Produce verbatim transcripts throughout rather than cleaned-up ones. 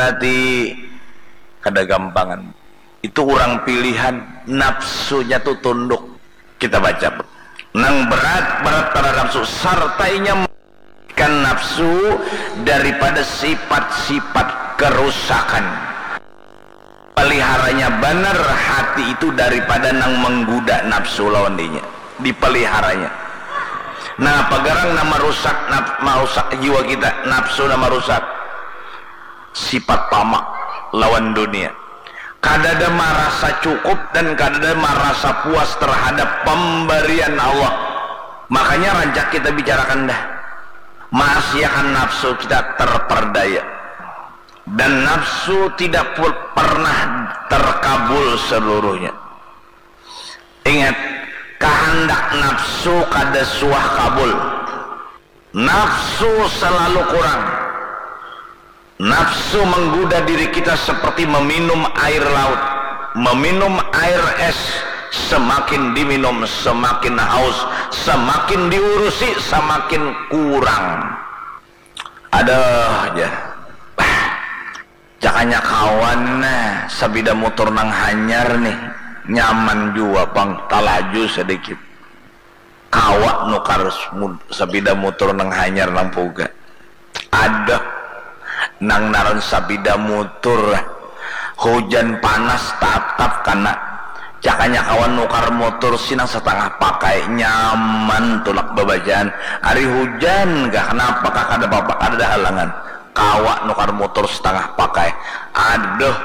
Hati kada gampangan. Itu orang pilihan, nafsunya tu tunduk. Kita baca. Nang berat, berat pada nafsu. Sarta inya kan nafsu daripada sifat-sifat kerusakan. Peliharanya banar hati itu daripada nang mengguda nafsu lawan dinya. Dipeliharanya. Nah, apa garang nama rusak, naf-, marusak jiwa kita, nafsu nama rusak. Sifat tamak lawan dunia. Kadada marasa cukup dan kadada marasa puas terhadap pemberian Allah. Makanya rancak kita bicarakan dah. Maasiakan nafsu kita terperdaya. Dan nafsu tidak pu-, pernah terkabul seluruhnya. Ingat, kehendak nafsu kada suah kabul. Nafsu selalu kurang. Nafsu menggoda diri kita seperti meminum air laut, meminum air es. Semakin diminum, semakin haus. Semakin diurusi, semakin kurang. Aduh, jar. Jakanya kawan, nah, sapida mutur nang hanyar nih, nyaman jua pang, talaju sadikit. Kawa nukar s-, mud-, sapida mutur nang hanyar nang puga. Aduh, nang naran sapida mutur, hujan panas tatap kana. Jakanya kawan nukar mutur si nang satangah pakai, nyaman tulak babacaan. Ari hujan kah, kanapa kah, kada papa, kadada halangan. Kawa nukar mutur satangah pakai. Aduh,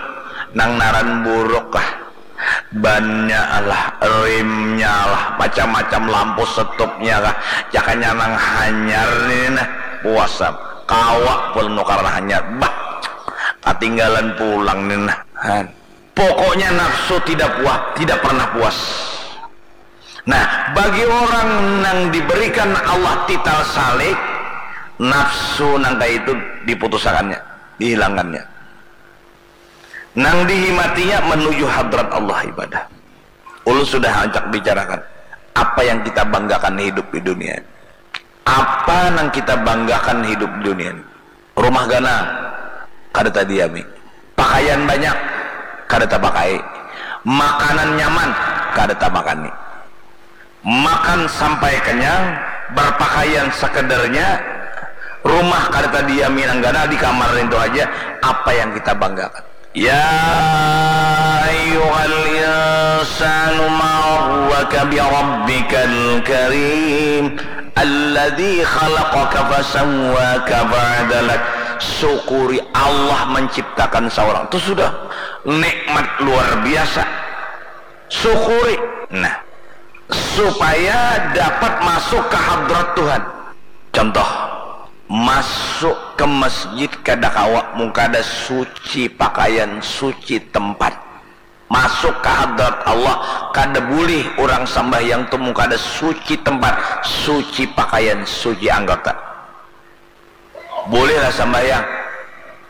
nang naran buruk kah. Bannya lah, rimnya lah, macam-macam lampu setupnya kah. Jakanya nang hanyar ni nah, puas am. Kawa pulang nukar nang hanyar. Bah, katinggalan pulang ni nah. Han. Pokoknya nafsu tidak puas, tidak pernah puas. Nah, bagi orang nang diberikan Allah tital salik, nafsu nang kaya itu diputusakannya, dihilangannya. Nang dihimatinya menuju hadrat Allah ibadah. Ulun sudah rancak bicarakan apa yang kita banggakan hidup di dunia ini. Apa nang kita banggakan hidup di dunia ini? Rumah ganal, kada tadiami. Pakaian banyak, kada tapakai. Makanan nyaman, kada tamakani. Makan sampai kenyang, berpakaian sekadarnya, rumah kada tadiami nang ganal, di kamar nintu haja, apa yang kita banggakan? Ya ayyuhal insanu ma gharraka bi rabbikal karim, alladzi khalaqaka fasawwaka fa'adalak. Syukuri Allah menciptakan seorang. Itu sudah nikmat luar biasa. Syukuri. Nah, supaya dapat masuk ke hadrat Tuhan. Contoh, masuk ke masjid kada kawa mun kada suci pakaian, suci tempat. Masuk ke hadrat Allah kada bulih orang sambahyang tu mun kada suci tempat, suci pakaian, suci anggota. Bulihlah sambahyang,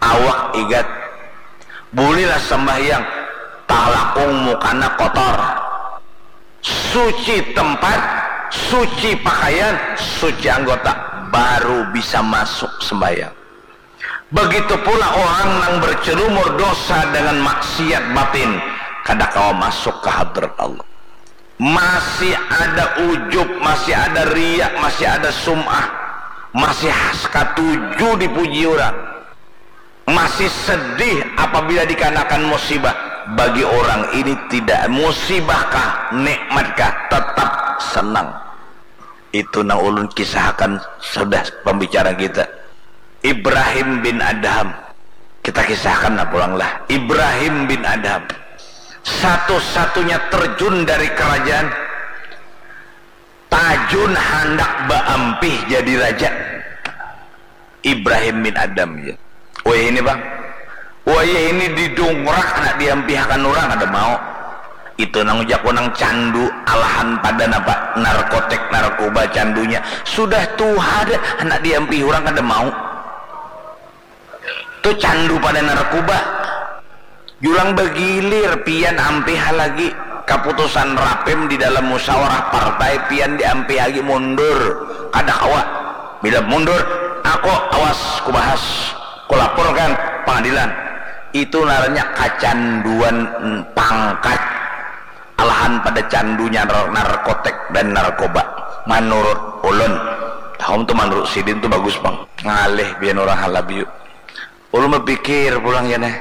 awak igat. Bulihlah sambahyang, talakung mukana kotor. Suci tempat, suci pakaian, suci anggota, baru bisa masuk sembahyang. Begitu pula orang nang bercelumur dosa dengan maksiat batin, kada kawa masuk ke hadrat Allah. Masih ada ujub, masih ada riak, masih ada sum'ah, masih has katuju dipuji orang, masih sedih apabila dikanakan musibah. Bagi orang ini tidak musibah kah, nikmat kah, tetap senang. Itu nang ulun kisahkan sudah pembicaraan kita. Ibrahim bin Adham. Kita kisahkan lah pulang lah. Ibrahim bin Adham. Satu-satunya terjun dari kerajaan. Tajun handak baampih jadi raja. Ibrahim bin Adham, ya. Wayah ini, Bang. Wayah ini didungrak, handak diampihakan urang, kada mau. Itu nang ujaku nang candu, alahan pada napa, narkotik, narkoba, candunya. Sudah tuha dah, handak diampih urang, kada mau. Tu candu pada narkoba. Jurang bagilir, pian ampih lagi. Kaputusan rapim di dalam musyawarah partai, pian diampih lagi, mundur. Kada kawa. Bila mundur, aku awas, kubahas, kulaporkan pangadilan. Itu ngarannya kacanduan pangkat, alahan pada candunya narkotik dan narkoba. Manurut ulun, tahun tu manurut sidin tu bagus pang, ngalih bian urang Halabiu. Ulun bapikir pulang ya nah,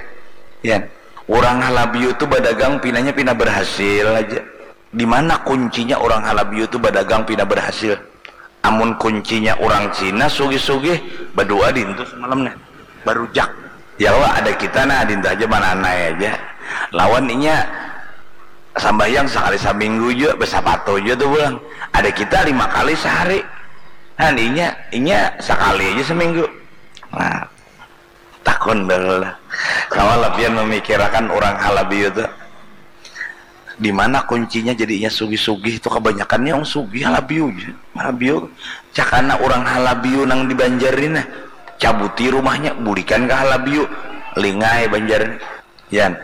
ya, urang Halabiu tu badagang pinanya pina berhasil aja. Di mana kuncinya urang Halabiu tu badagang pina berhasil? Amun kuncinya urang Cina sugih-sugih, badua dintu semalam nah, barujak. Ya Allah, ada kita nah dintu aja, mananai aja. Lawan inya sambahyang sakali saminggu jua, basapatu jua tu pulang. Ada kita lima kali sehari. Nah, inya, inya sakali aja seminggu. Nah, takun dah lah. Kawa lah pian memikirakan urang Halabiu tu. Di mana kuncinya jadinya sugih-sugih tu? Kabanyakannya orang sugih Halabiu ja. Halabiu, cakana urang Halabiu nang di Banjar ni nah, cabuti rumahnya, bulikan ka Halabiu, lingai Banjar ni. Yan,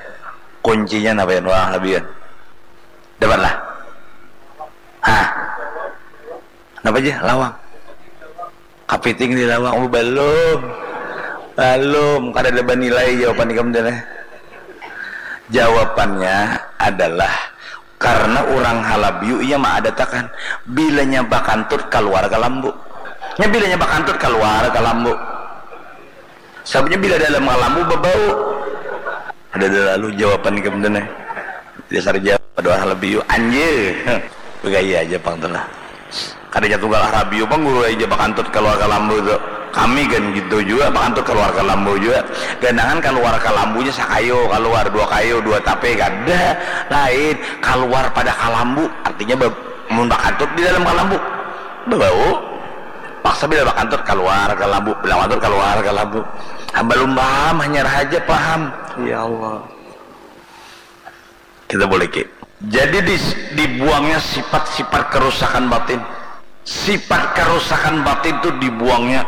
kuncinya napa yan urang Halabiu yan? Dapat lah. Hah? Napa ja lawang? Kapiting di lawang. Oh, balum. Balum. Kada ada banilai jawapan ikam tu nah. Jawabannya adalah karena urang Halabiu inya maadatakan, bilanya bakantut kaluar ka lambu. Nya bilanya bakantut kaluar ka lambu. Sababnya bila dalam ka lambu babau. Ada lalu jawaban ikam tu nah. Dasar Jawa, dua Halabiu, anjir. Begaya aja pang tu lah. Kadanya tunggal Halabiu pang guru aja bakantut kaluar ka lambu tu. Kami kan gitu jua, bakantut kaluar ka lambu jua. Ganangan kaluar ka lambunya sakayu kaluar, dua kayu, dua tape, kada. Lain, kaluar pada ka lambu, artinya ba-, mun bakantut di dalam ka lambu, babau. Paksa bila bakantut kaluar ka lambu, bila bakantut kaluar ka lambu. Balum paham, hanyar haja paham. Ya Allah. Kita boleh ki. Jadi di-, dibuangnya sifat-sifat kerusakan batin. Sifat kerusakan batin tu dibuangnya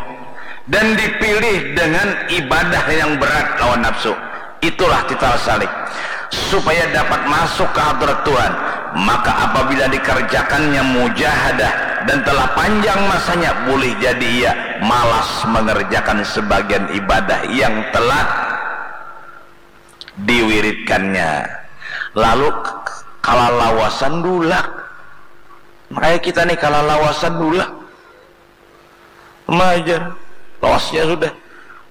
dan dipilih dengan ibadah yang berat lawan nafsu. Itulah titah salik. Supaya dapat masuk ke hadrat Tuhan, maka apabila dikerjakannya mujahadah dan telah panjang masanya, boleh jadi ia malas mengerjakan sebagian ibadah yang telah diwiridkannya. Lalu k-, k-, kalalawasan dulak. Makanya kita nih kalalawasan dulak. Majar. Lawasnya sudah.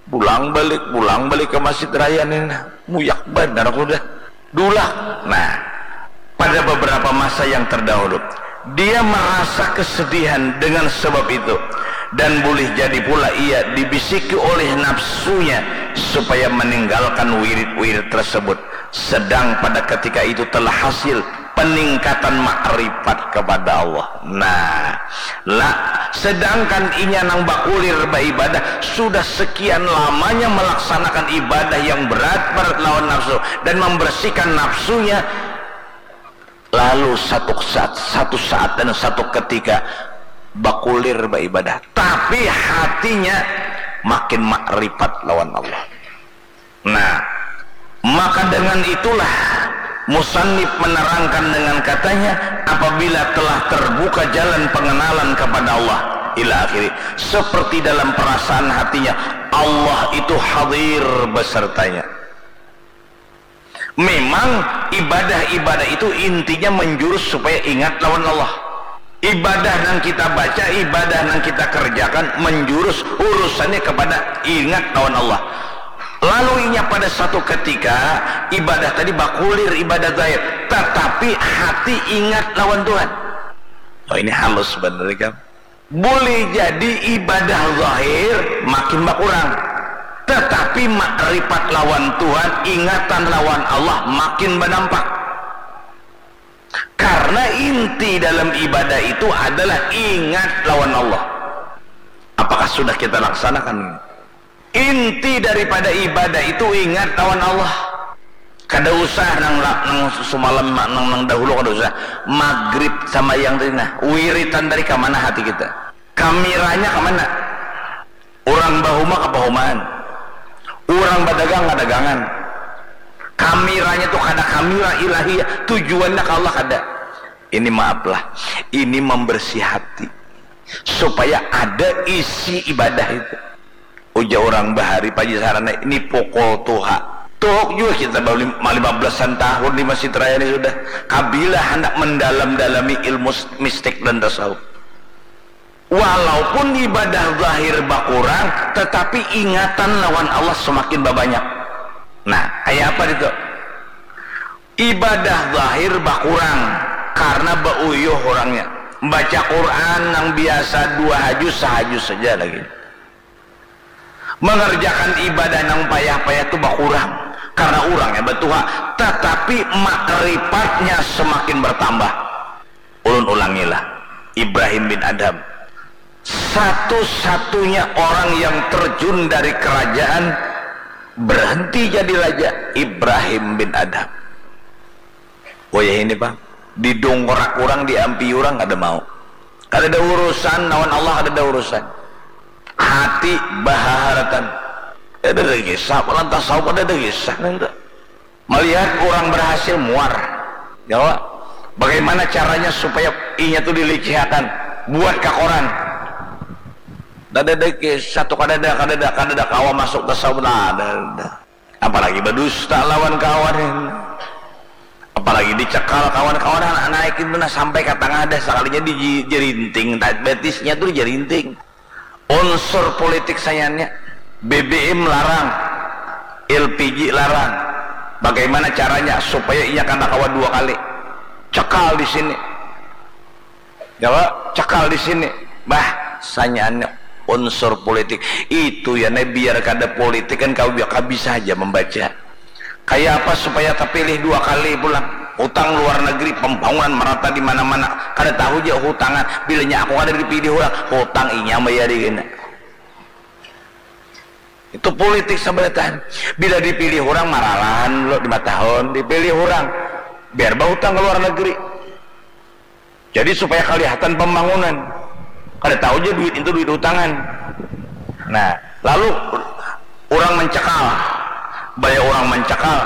Pulang balik, pulang balik ke Masjid Raya nih. Nah, muyak banar sudah. Dulak. Nah, pada beberapa masa yang terdahulu, dia merasa kesedihan dengan sebab itu, dan boleh jadi pula ia dibisiki oleh nafsunya supaya meninggalkan wirid-wirid tersebut, sedang pada ketika itu telah hasil peningkatan makrifat kepada Allah. Nah, lah, sedangkan inya nang bakulir baibadah sudah sekian lamanya melaksanakan ibadah yang berat-berat lawan nafsu dan membersihkan nafsunya, lalu satu saat, satu saat dan satu ketika bakulir baibadah, tapi hatinya makin makrifat lawan Allah. Nah, maka dengan itulah musannif menerangkan dengan katanya, apabila telah terbuka jalan pengenalan kepada Allah, ila akhiri, seperti dalam perasaan hatinya, Allah itu hadir besertanya. Memang ibadah-ibadah itu intinya menjurus supaya ingat lawan Allah. Ibadah nang kita baca, ibadah nang kita kerjakan menjurus urusannya kepada ingat lawan Allah. Lalu inya pada satu ketika ibadah tadi bakulir ibadah zahir, tetapi hati ingat lawan Tuhan. Oh, ini halus bener kan? Boleh jadi ibadah zahir makin bakurang, tetapi makrifat lawan Tuhan, ingatan lawan Allah makin banampak. Karena inti dalam ibadah itu adalah ingat lawan Allah. Apakah sudah kita laksanakan? Inti daripada ibadah itu ingat lawan Allah. Kada usah nang, nang sumalam, nang, nang dahulu kada usah. Magrib sama yang tadi nah, wiritan tadi ka mana hati kita? Kamiranya ka mana? Urang bahuma ka bahumaan. Urang badagang ka dagangan. Kamiranya tu kada kamira ilahiyah, tujuannya ka Allah kada. Ini maaflah, ini membersih hati. Supaya ada isi ibadah itu. Ujar urang bahari, Pak Haji, sarana ini pukul tuha. Tuhuk jua kita baru lim-, lima belasan tahun di Masjid Raya ini sudah. Kabila handak mendalam-dalami ilmu s-, mistik dan tasawuf. Walaupun ibadah zahir bakurang, tetapi ingatan lawan Allah semakin babanyak. Nah, kayak apa itu? Ibadah zahir bakurang karena bauyuh orangnya. Baca Quran nang biasa dua hajus, sahajus saja lagi. Mengerjakan ibadah nang payah-payah tu bakurang karena urangnya batuha, tetapi makripatnya semakin bertambah. Ulun ulangilah, Ibrahim bin Adham, satu-satunya orang yang terjun dari kerajaan berhenti jadi raja, Ibrahim bin Adham. Oh ya ini, Bang, didongkorak urang, diampi urang, kada mau. Kada ada urusan lawan Allah, kada ada urusan. Hati bahaharatan. Kada ada kisah, malah tasawuf kada ada kisah nanti. Melihat orang berhasil, muar. Jawa. Bagaimana caranya supaya inya tu dilicihakan? Buat ka koran. Kada ada kisah tu, kada ada, kada ada, kada ada kawa masuk tasawuf, nah, ada, ada. Apalagi berdusta lawan kawan ini. Apalagi dicekal kawan-kawan, anak naik itu nah sampai ke tengah dah, sekalinya di jerinting, betisnya tuh jerinting. Unsur politik sayanya, B B M larang, L P G larang. Bagaimana caranya supaya inya kada kawa dua kali? Cekal di sini. Jawa, cekal di sini. Bah, sanyaannya unsur politik. Itu ya, nah, biar kada politik kan kau biar bisa aja membaca. Kayak apa supaya terpilih dua kali pulang? Hutang luar negeri, pembangunan merata di mana-mana. Kada tahu aja hutangan. Bilanya aku kada dipilih orang, hutang inya bayari kena. Itu politik sebenarnya. Bila dipilih orang maralahan lo lima tahun, dipilih orang biar berhutang ke luar negeri. Jadi supaya kelihatan pembangunan. Kada tahu aja duit itu duit hutangan. Nah, lalu orang mencekal, banyak orang mencekal,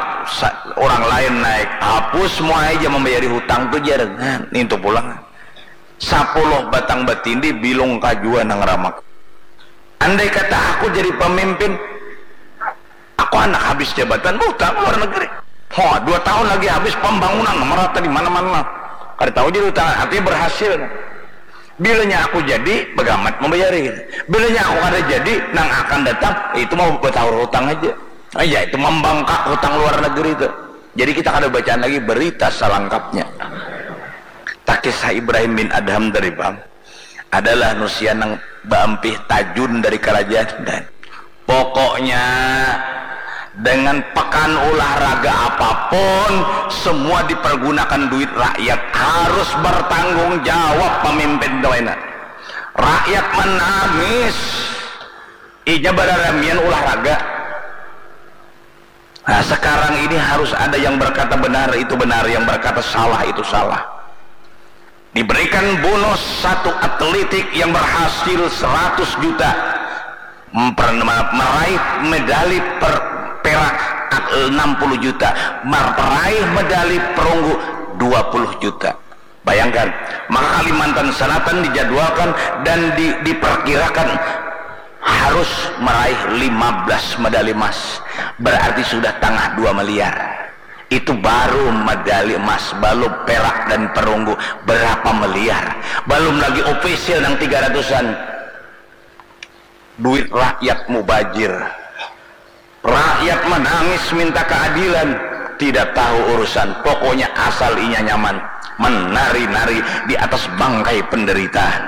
orang lain naik, hapus semua aja membayari hutang tuh jarengan. Itu pulang. Sapuluh batang batindi bilung kajua nang ramak. Andai kata aku jadi pemimpin, aku anak habis jabatan, buta ke luar negeri. Ho, dua tahun lagi habis pembangunan merata di mana-mana. Kada tahu jadi utang, artinya berhasil. Bilanya aku jadi, bagamat membayari. Bilanya aku kada jadi, nang akan datang itu mau bertahur hutang aja. Ah, ya, itu membangkak hutang luar negeri itu. Jadi kita kada bacaan lagi berita selengkapnya. Takisah Ibrahim bin Adham tadi, Bang, adalah nusian nang baampih tajun dari kerajaan dan pokoknya dengan pekan olahraga apapun, semua dipergunakan duit rakyat, harus bertanggung jawab pemimpin tu, enak. Rakyat menangis, inya bararamian olahraga. Nah, sekarang ini harus ada yang berkata benar itu benar, yang berkata salah itu salah. Diberikan bonus satu atletik yang berhasil seratus juta, meraih medali per, perak enam puluh juta, meraih medali perunggu dua puluh juta. Bayangkan, maka Kalimantan Selatan dijadwalkan dan di, diperkirakan harus meraih lima belas medali emas, berarti sudah tangah dua miliar. Itu baru medali emas, belum perak dan perunggu, berapa miliar? Belum lagi ofisial yang tiga ratusan. Duit rakyat mubajir. Rakyat menangis minta keadilan, tidak tahu urusan, pokoknya asal inya nyaman, menari-nari di atas bangkai penderitaan.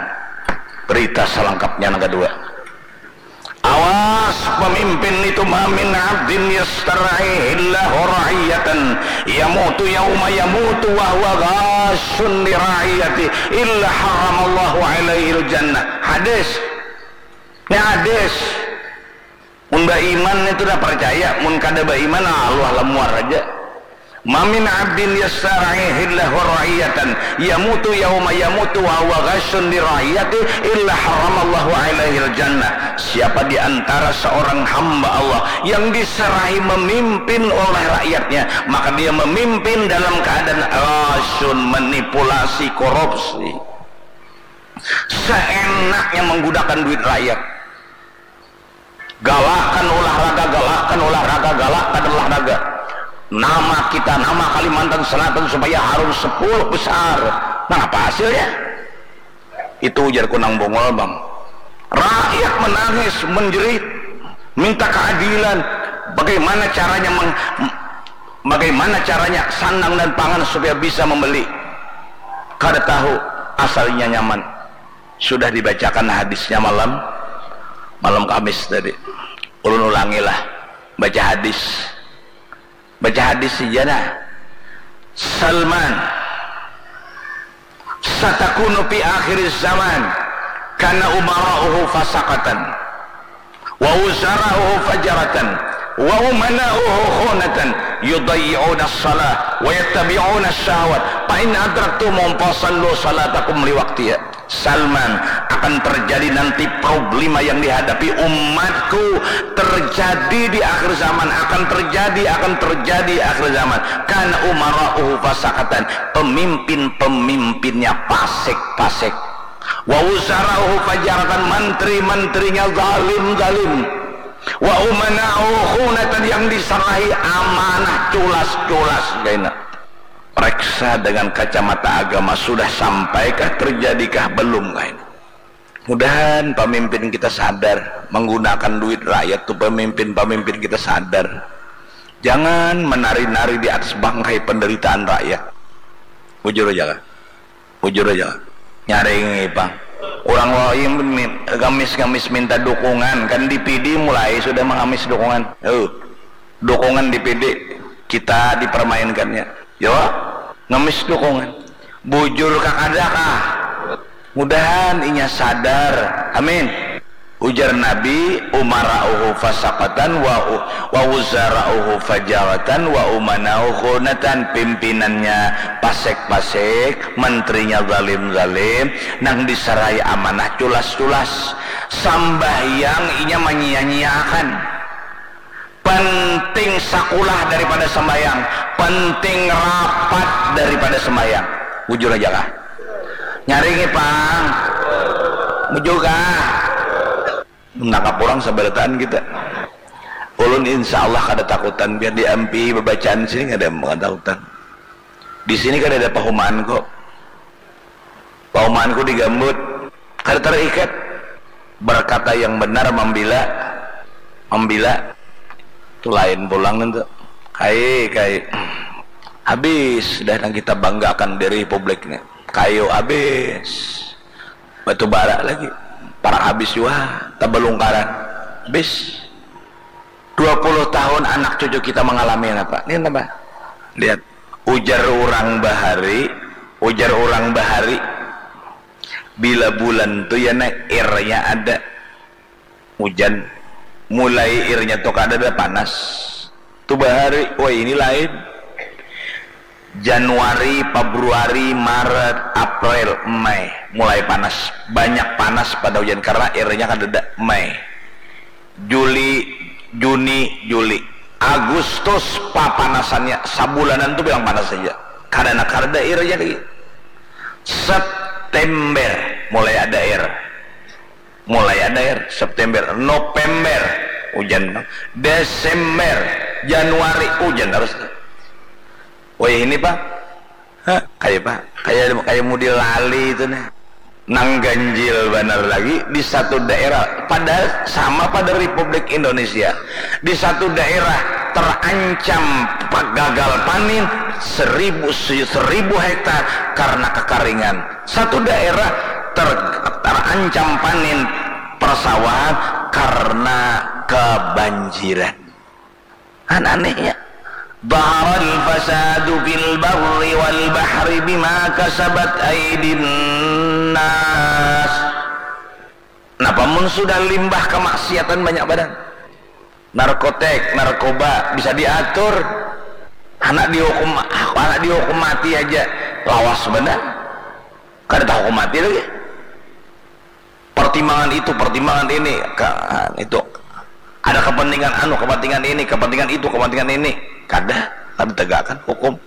Berita selengkapnya yang kedua. Awas pemimpin itu, ma min abdin yastar'ihillahu ra'iyatan yamutu yauma yamutu wa huwa ghashun li ra'iyati illa haramallahu alaihil jannah. Hadis. Ini hadis. Mun baiman itu dah percaya, mun kada baiman, aluh lah muar aja. Ma min abdin yastar'ihillahu ra'iyatan yamutu yauma yamutu wa huwa ghashun li ra'iyati illa haramallahu alaihil jannah. Siapa di antara seorang hamba Allah yang diserahi memimpin oleh rakyatnya, maka dia memimpin dalam keadaan ghashun, manipulasi, korupsi. Seenaknya menggunakan duit rakyat. Galakkan olahraga, galakkan olahraga, galakkan olahraga. nama kita, nama Kalimantan Selatan supaya harum sepuluh besar. Nah, apa hasilnya? Itu ujar Kunang Bungul, Bang. Rakyat menangis, menjerit, minta keadilan. Bagaimana caranya meng, bagaimana caranya sandang dan pangan supaya bisa membeli? Kada tahu, asalnya nyaman. Sudah dibacakan hadisnya malam, malam Kamis tadi. Ulun ulangilah, baca hadis. Baca hadis saja nah. Salman, satakunu fi akhir zaman kana umara'uhu fasakatan wa uzara'uhu fajaratan wa umana'uhu khunatan yudayyi'una salah wa yattabi'una syahwat fa in adraktumuhum fasallu salatakum liwaqtiha. Salman, akan terjadi nanti problema yang dihadapi umatku, terjadi di akhir zaman, akan terjadi, akan terjadi akhir zaman. Kana umara'uhu fasakatan, pemimpin-pemimpinnya pasik-pasik. Wa uzara'uhu fajaratan, menteri-menterinya zalim-zalim. Wa umana'uhu khunatan, yang diserahi amanah culas-culas kaina. Preksa dengan kacamata agama, sudah sampaikah, terjadikah, belumkah ini? Mudahan pamimpin kita sadar, menggunakan duit rakyat tu pamimpin-pamimpin kita sadar. Jangan menari-nari di atas bangkai penderitaan rakyat. Bujur aja lah. Bujur aja lah. Nyaring ipang. Urang wahai min-, ngamis-ngamis minta dukungan, kan D P D mulai sudah mengamis dukungan. Uh, dukungan D P D, kita dipermainkannya. Yo, ngemis dukungan. Bujur kakadakah? Mudahan inya sadar. Amin. Ujar Nabi, umara'uhu fasakatan wa u-, wa wuzara'uhu fajawatan wa umana'uhu khunatan, pimpinannya pasek-pasek, menterinya zalim-zalim, nang disarai amanah culas-culas. Sambahyang inya manyia-nyiakan. Penting sakulah daripada sembahyang, penting rapat daripada sembahyang. Bujur aja kah? Nyaring ipang. Bujur kah? Menangkap orang sabarataan kita. Ulun insya Allah kada takutan, biar diampihi babacaan sini kada takutan. Di sini kada ada pahumaan kok. Pahumaanku digambut, kada terikat. Berkata yang benar, membela, membela. Itu lain pulang itu. Kai, kai. Habis dah nang kita banggakan di republik ni. Kayu habis. Batu bara lagi. Parak habis jua. Tabalungkaran. Habis. Dua puluh tahun anak cucu kita mengalami apa? Ini apa? Lihat. Ujar urang bahari, ujar urang bahari, bila bulan tu ya, nah, airnya ada. Hujan, mulai airnya tu kada ada, panas. Tu bahari, wah, ini lain. Januari, Februari, Maret, April, Mei, mulai panas. Banyak panas pada hujan karena airnya kada ada. Mei. Juli, Juni, Juli, Agustus, papanasannya sabulanan tu bilang panas saja. Kada nak kada air aja lagi. September mulai ada air. Mulai ada air. September, November, hujan. Desember, Januari, hujan terus. Wah, ini, Pak. Hah, kayak apa? Kayak, kayak mudi lali itu nih. Nang ganjil banar lagi di satu daerah, padahal sama pada Republik Indonesia. Di satu daerah terancam gagal panen seribu, seribu hektar karena kekeringan. Satu daerah ter-, terancam panen persawahan karena kebanjiran. Kan anehnya. Dhaharal fasadu fil barri wal bahri bima kasabat aidin nas. Napa mun sudah limbah kemaksiatan banyak badan? Narkotik, narkoba bisa diatur. Anak dihukum, anak dihukum mati aja. Lawas benar. Kada tahu hukum mati lagi. Pertimbangan itu, pertimbangan ini, ka-, itu. Ada kepentingan anu, kepentingan ini, kepentingan itu, kepentingan ini. Kada, kada tegakkan hukum.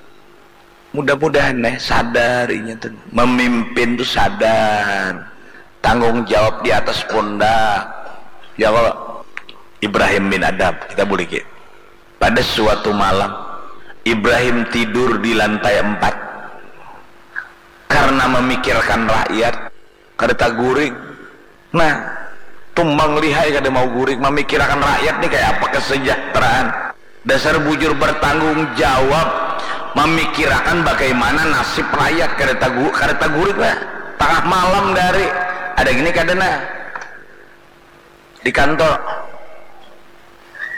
Mudah-mudahan nih sadar inya tuh. Memimpin tuh sadar. Tanggung jawab di atas pundak. Ya kalau Ibrahim bin Adham, kita boleh ki. Pada suatu malam, Ibrahim tidur di lantai empat karena memikirkan rakyat, kada taguring. Nah, tumbang lihai kada mau guring, mamikirakan rakyat ni kaya apa kesejahteraan. Dasar bujur bertanggung jawab, mamikirakan bagaimana nasib rakyat, kada tagu-, kada taguring lah. Tangah malam dari, ada gini kada nah. Di kantor.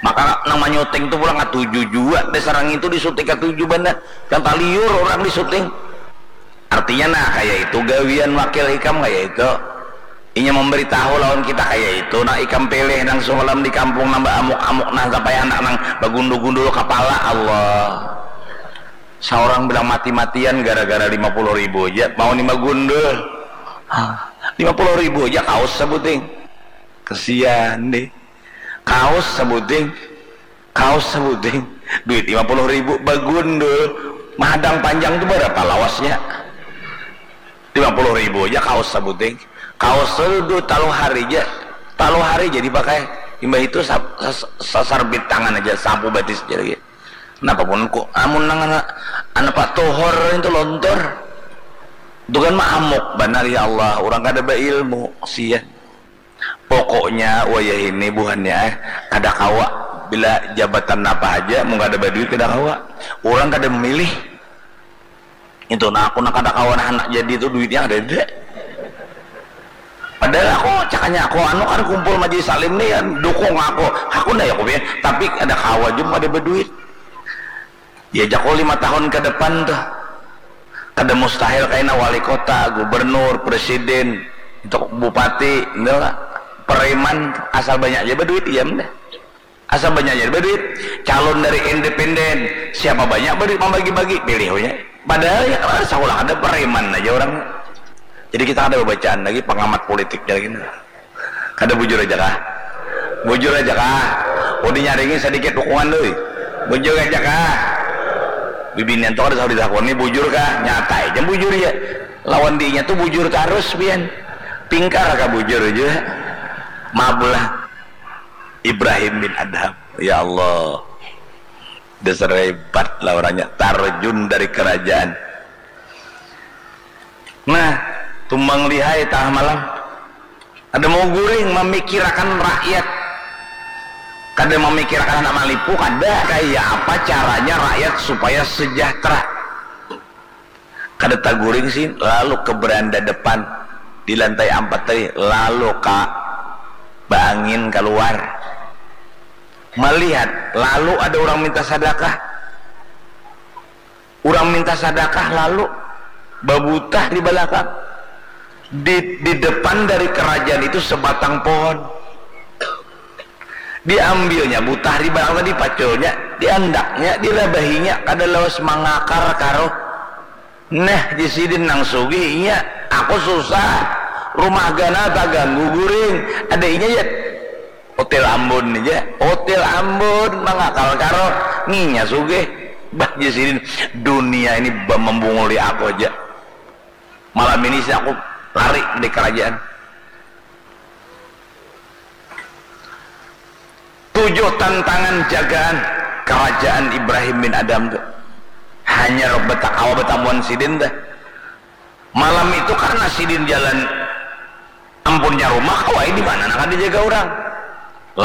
Maka nang manyuting tu pulang katuju jua, dasar nang itu disuting katuju banar. Yang taliur orang disuting. Artinya nah, kaya itu gawian wakil ikam kaya itu. Inya memberitahu lawan kita kaya itu, nah ikam pilih nang semalam di kampung nang baamuk-amuk nah, sampai anak nang bagundul-gundul kapala, Allah. Saurang bilang mati-matian gara-gara lima puluh ribu aja, mau ni bagundul. Hah, lima puluh ribu aja kaus sabuting. Kesian deh. Kaus sabuting. Kaus sabuting. Duit lima puluh ribu bagundul. Mahadang panjang tu berapa lawasnya? Lima puluh ribu aja kaus sabuting. Kaus tu duit talu hari aja. Talu hari aja dipakai. Imbah itu sa-, sa-, sasarbit tangan aja, sapu batis aja lagi. Kenapa pun ku, amun nang anak, anak Pak Tohor itu lontor. Itu kan maamuk banar, ya Allah, orang kada beilmu, sian. Pokoknya wayah ini buhannya, eh, kada kawa. Bila jabatan apa aja, mun kada baduit kada kawa. Orang kada memilih. Itu nah, aku nak kada kawa nah anak jadi tu duitnya ada deh. Padahal aku cakanya aku anu kan kumpul majelis salim nih kan dukung aku. Aku nah ya aku tapi ada kawa juga kada berduit. Diajak aku lima tahun ke depan tuh. Kada mustahil kaina wali kota, gubernur, presiden, itu bupati, itu lah. Preman asal banyak aja berduit diam deh. Asal banyak aja berduit. Calon dari independen, siapa banyak berduit membagi-bagi, pilih aja. Padahal ya kalau ada sekolah ada preman aja orang. Jadi kita ada bacaan lagi pengamat politiknya lagi. Kada bujur aja kah? Bujur aja kah? Mau dinyaringi sedikit dukungan doi. Bujur aja kah? Bibinian tuh kada sahur ditakoni bujur kah? Nyata aja bujur ya. Lawan dinya tuh bujur terus pian. Pingkar kah bujur aja. Maaf lah. Ibrahim bin Adham. Ya Allah. Dasar hebat lah orangnya. Tarjun dari kerajaan. Nah, tumbang lihai tengah malam. Ada mau guring memikirakan rakyat. Kada memikirakan anak malipu, kada kaya apa caranya rakyat supaya sejahtera. Kada taguring sih, lalu ke beranda depan di lantai empat tadi, lalu ka baangin keluar. Melihat, lalu ada orang minta sadakah. Urang minta sadakah lalu babutah di balakang. Di, di depan dari kerajaan itu sebatang pohon. Diambilnya butah di balakang tadi, paculnya, diandaknya, dirabahinya, kada lawas mangakar karuh. Nah, di sidin nang sugih, inya, aku susah. Rumah ganal taganggu guring. Ada inya ya. Hotel Ambon aja, Hotel Ambon mangakal karo nginya sugih. Bah, jar sidin, dunia ini ba membunguli aku aja. Malam ini sih aku lari dari kerajaan. Tujuh tantangan jagaan kerajaan Ibrahim bin Adam tu. Hanya rok betakawa betamuan sidin dah. Malam itu karena sidin jalan ampunnya rumah, kawai di mana nak dijaga orang.